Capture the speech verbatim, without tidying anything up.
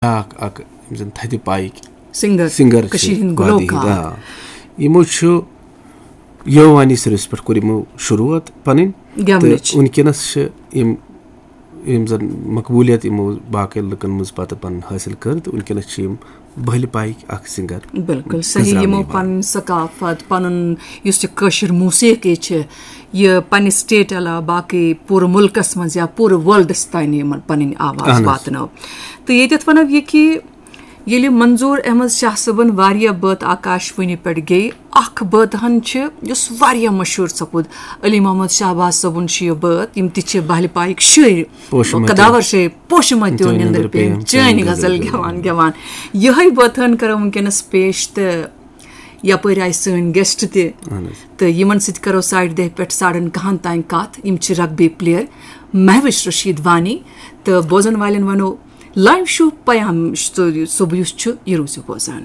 بیٛاکھ اکھ یِم زن تھدِ پایِکۍ سنگر، سنگر چھِ کٔشیٖرِ ہٕنٛدۍ وادی گلوکار۔ ہٕنٛدۍ، آ۔ یِمو چھُ یووانی سٔروِس پٮ۪ٹھ کوٚر یِمو شروٗعات پنٕنۍ۔ گٮ۪ونٕچ۔ تہٕ وٕنکیٚنس چھِ یِم، یِم زن مقبولیت یِمو باقین لُکن منٛز پتہٕ پنٕنۍ حٲصِل کٔر، تہٕ وٕنکیٚنس چھِ یِم بہلہِ پایِکۍ اکھ سنگر۔ بالکل صحیح، گٔنزراونہٕ یِمو یِوان۔ پنٕنۍ ثقافت، پنُن یُس یہِ کٲشِر موسیقی چھِ، یہِ پننہِ سٹیٹ علاوٕ باقٕے پوٗرٕ مُلکس منٛز یا پوٗرٕ ورلڈس تانۍ یِمن پنٕنۍ آواز اہن حظ۔ واتنٲو۔ تہٕ ییٚتٮ۪تھ ونو یہِ کہِ ییٚلہِ منظور احمد شاہ صٲبن واریاہ بٲتھ آکاش وانی پٮ۪ٹھ گیٚیہِ، اکھ بٲتھ ہن چھِ یُس واریاہ مشہوٗر سپُد، علی محمد شہباز صٲبُن چھُ یہِ بٲتھ، یِم تہِ چھِ بہلہِ پایِکۍ شٲعر، پوشہٕ مَتیو۔ قداور شٲعر، پوشہٕ مَتیو تیو نِندٕر نِندٕر پیٚیَم، پیٚیَم، چٲنۍ چٲنۍ غزل غزل گٮ۪وان گٮ۪وان۔ یِہوٚے بٲتھ ہن کرو وٕنکیٚنس پیش، تہٕ یپٲرۍ آیہِ سٲنۍ گیسٹ تہِ، اہن حظ۔ تہٕ یِمن سۭتۍ کرو ساڑِ دہہِ پٮ۪ٹھ ساڑن کاہن تام کتھ۔ یِم چھِ رگبی پلیئر مہوش رشید وانی، تہٕ بوزن والٮ۪ن ونو لایو شو پیام صبح یُس چھُ، یہِ روٗزِو بوزان۔